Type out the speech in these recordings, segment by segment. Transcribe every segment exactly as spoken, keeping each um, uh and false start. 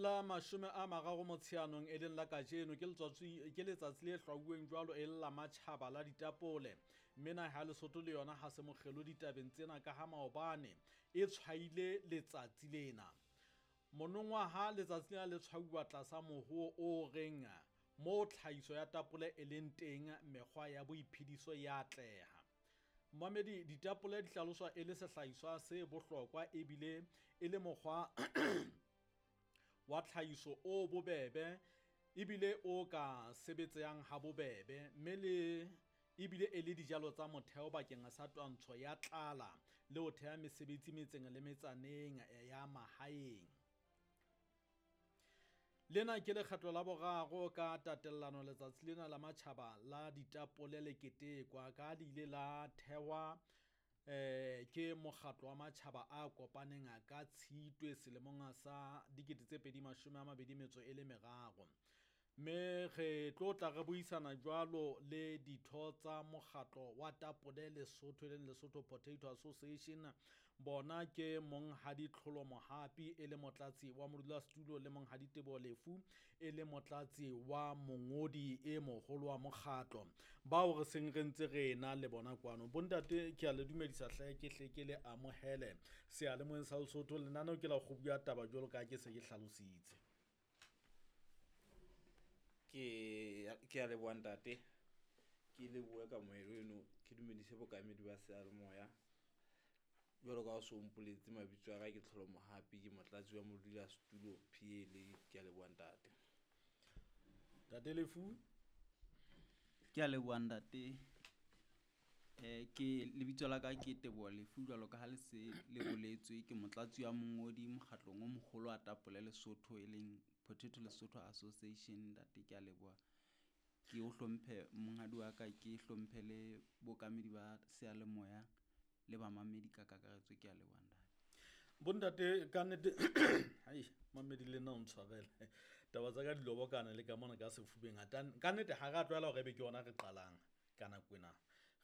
La mashome a mararo Motsheanong, e leng la kajeno, ke letsatsi ke letsatsi le hlwauweng jwalo e le la matjhaba la ditapole, mme naha ya Lesotho le yona ha se mokgelo ditabeng tsena ka ha maobane e tshwaile letsatsi lena. Monongwaha letsatsi lena le tshwauwa tlasa mohoo o reng moo tlhahiso ya tapole e leng teng, mekgwa ya boiphediso ya atleha. Mmamedi, ditapole di hlaloswa e le sehlahiswa se bohlokwa ebile e le mokgwa wa tlhahiso o bobebe ebile o ka sebetsehang ha bobebe, mme le ebile e le dijalo tsa motheo bakeng sa twantsho ya tlala le ho theha mesebetsi metseng le metsaneng ya mahaeng. Lena ke lekgetlo la boraro ka tatellano letsatsi lena la matjhaba la ditapole le ketekwa, ka le ile la thehwa eh ke mokgatlo wa matjhaba a kopaneng ka Tshitwe selemong sa dikete tse pedi mashome a mabedi metso e le meraro. Mme re tlo tla re buisana jwalo le ditho tsa mokgatlo wa tapole Lesotho, e leng Lesotho Potato Association. Bona ke Monghadi Tlholo Mohapi e le motlatsi wa modulasetulo le Monghadi Teboho Lefu e le motlatsi wa mongodi e moholo wa mokgatlo, bao re seng re ntse re ena le bona kwano. Bontate, ke a le dumedisa hle, ke hle ke le amohele seyalemoyeng sa Lesotho. Lenaneo ke la kgobu ya taba jwalo ka ha ke se ke hlalositse. Ke ke a leboha, ntate. Ke lebohe kamohelo eno, ke dumedise bokamedi ba seyalemoya. Jwalo ka ha o so mpoletse, mabitso a ka ke Tlholo Mohapi, ke motlatsi wa modulasetulo P L A. Ke a leboha, ntate. Ntate Lefu. Ke a leboha, ntate. um ke lebitso la ka ke Teboho Lefu, jwalo ka ha le se le boletswe. Ke motlatsi wa mongodi mokgatlong o mogolo wa tapole Lesotho, e leng Potato Lesotho Association. Ntate, ke a leboha. Ke o hlomphe, monghadi wa ka, ke hlomphe le bookamedi ba seyalemoya le bamamedi ka kakaretso. Ke a leboha, ntate. Bontate, ka nnete, ai mamedi, le nna o ntshwarele, taba tsa ka di lobokana le ka mona ka sefubeng. Ka nnete ha re a tlwaela hore ebe ke yona re qalang ka nako ena,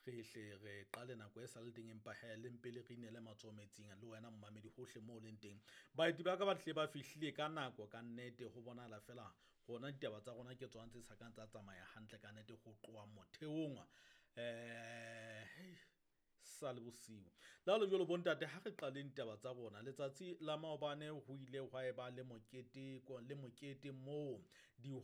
re hle re qale nako e sa le teng, empa he le mpe le re inele matsoho metsing le wena momamedi hohle moo o leng teng. Baeti ba ka ba tlile ba fihlile ka nako. Ka nnete ho bonahala fela rona ditaba tsa rona ke tsona tse sa kang tsa tsamaya hantle ka nnete ho tloha motheong um sa le bosiu. Le ha le jwalo, bontate, ha re qaleng ditaba tsa rona. Letsatsi la maobane ho ile hwa eba le mokete le mokete moo dihwai